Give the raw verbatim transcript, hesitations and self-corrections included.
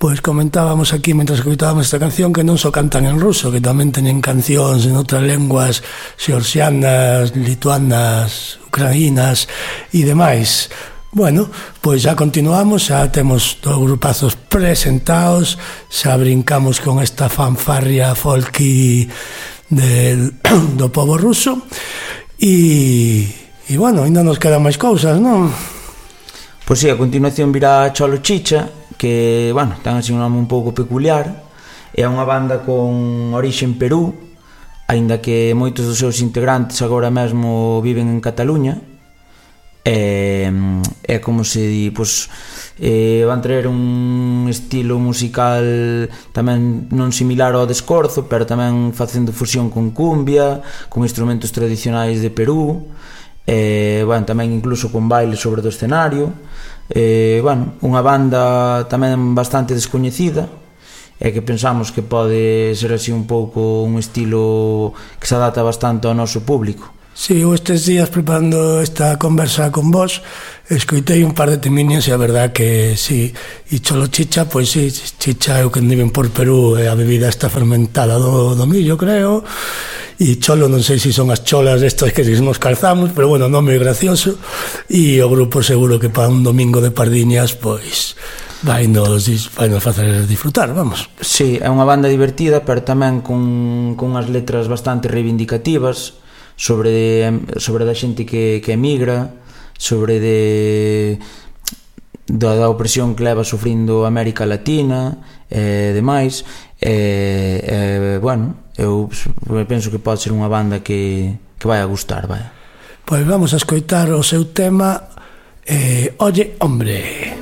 pois comentábamos aquí mentre escoitábamos esta canción que non só cantan en ruso, que tamén teñen cancións en outras lenguas xeorxianas, lituanas, ucraínas e demais. Bueno, pois xa continuamos, xa temos dos grupazos presentados, xa brincamos con esta fanfarria folky del, do pobo ruso e, e bueno, ainda nos quedan máis cousas, non? Pois si, a continuación virá Cholo Chicha, que, bueno, ten así un nome un pouco peculiar. É unha banda con orixe en Perú, aínda que moitos dos seus integrantes agora mesmo viven en Cataluña. É, é como se di, pois, eh, van traer un estilo musical tamén non similar ao de Escorzo, pero tamén facendo fusión con cumbia, con instrumentos tradicionais de Perú, eh, bueno, tamén incluso con baile sobre do escenario. Eh, bueno, unha banda tamén bastante descoñecida e que pensamos que pode ser así un pouco un estilo que se adapta bastante ao noso público. Si, eu estes días preparando esta conversa con vos escoitei un par de teminios e a verdad que si, e Cholo Chicha, pois si, chicha é o que viven por Perú e a bebida está fermentada do, do millo, creo, e cholo non sei se son as cholas estas que nos calzamos, pero bueno, non é gracioso, e o grupo seguro que para un domingo de pardiñas, pois vai nos, vai nos facer disfrutar, vamos. Si, é unha banda divertida, pero tamén con, con unhas letras bastante reivindicativas sobre sobre da xente que, que emigra, sobre de da, da opresión que leva sufrindo América Latina e demais, e, e bueno, eu penso que pode ser unha banda que, que vai a gustar, vai. Pois vamos a escoitar o seu tema, eh, Oye, hombre.